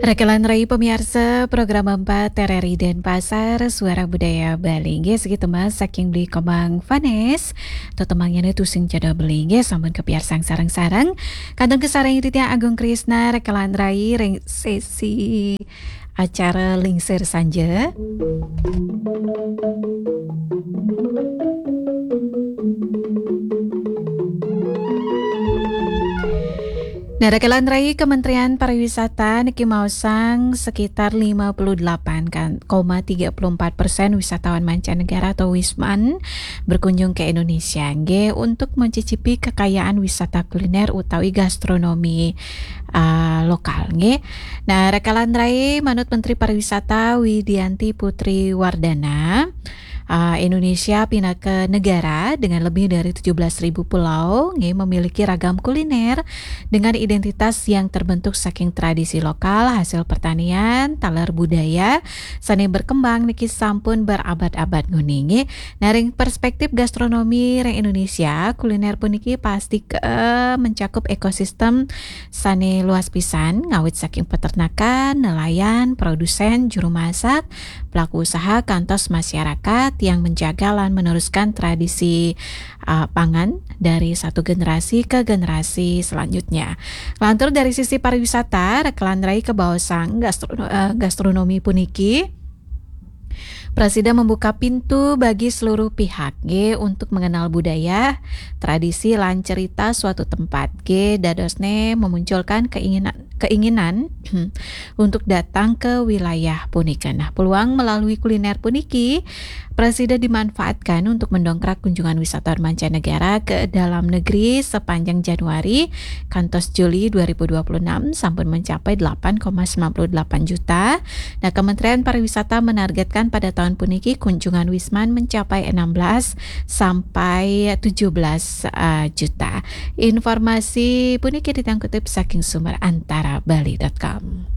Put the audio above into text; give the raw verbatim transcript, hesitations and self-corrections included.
Rekelan rai pamiarsa program empat R R I Denpasar, Suara Budaya Bali. Nggih, sakitu mah saking Beli Komang Vanes. Tetemangnya tusing cada beli. Nggih, sampun kapiarsang sareng-sareng. Kantun kasarengin titiang Agung Krisna, rekelan rai ring sesi acara Lingsir Sanja. Nah, rekelan rai Kementerian Pariwisata niki maosang sekitar lima puluh delapan koma tiga puluh empat persen wisatawan mancanegara atau wisman berkunjung ke Indonesia, nggih, untuk mencicipi kekayaan wisata kuliner utawi gastronomi, ah, lokal, nggih. Nah, rekelan rai manut Menteri Pariwisata Widianti Putri Wardana, ah, Indonesia pinaka negara dengan lebih dari tujuh belas ribu pulau, nggih, memiliki ragam kuliner dengan identitas yang terbentuk saking tradisi lokal, hasil pertanian, taler budaya, sane berkembang niki sampun berabad-abad nguni, nggih. Nah, ring perspektif gastronomi ring Indonesia, kuliner puniki pasti ke mencakup ekosistem sane luas pisan, ngawit saking peternakan, nelayan, produsen, juru masak, pelaku usaha, kantos masyarakat yang menjaga lan meneruskan tradisi, uh, pangan dari satu generasi ke generasi selanjutnya. Lantur dari sisi pariwisata, rekelan rai kabaosang gastro-, uh, gastronomi puniki prasida membuka pintu bagi seluruh pihak, nggih, untuk mengenal budaya, tradisi, lan cerita suatu tempat, nggih, dadosne memunculkan keinginan, keinginan untuk datang ke wilayah punika. Nah, peluang melalui kuliner puniki prasida dimanfaatkan untuk mendongkrak kunjungan wisatawan mancanegara ke dalam negeri sepanjang Januari kantos Juli dua ribu dua puluh enam sampun mencapai delapan koma sembilan puluh delapan juta. Nah, Kementerian Pariwisata menargetkan pada tahun puniki kunjungan wisman mencapai enam belas sampai tujuh belas, eh, juta. Informasi puniki titiang kutip saking sumber antara bali dot com.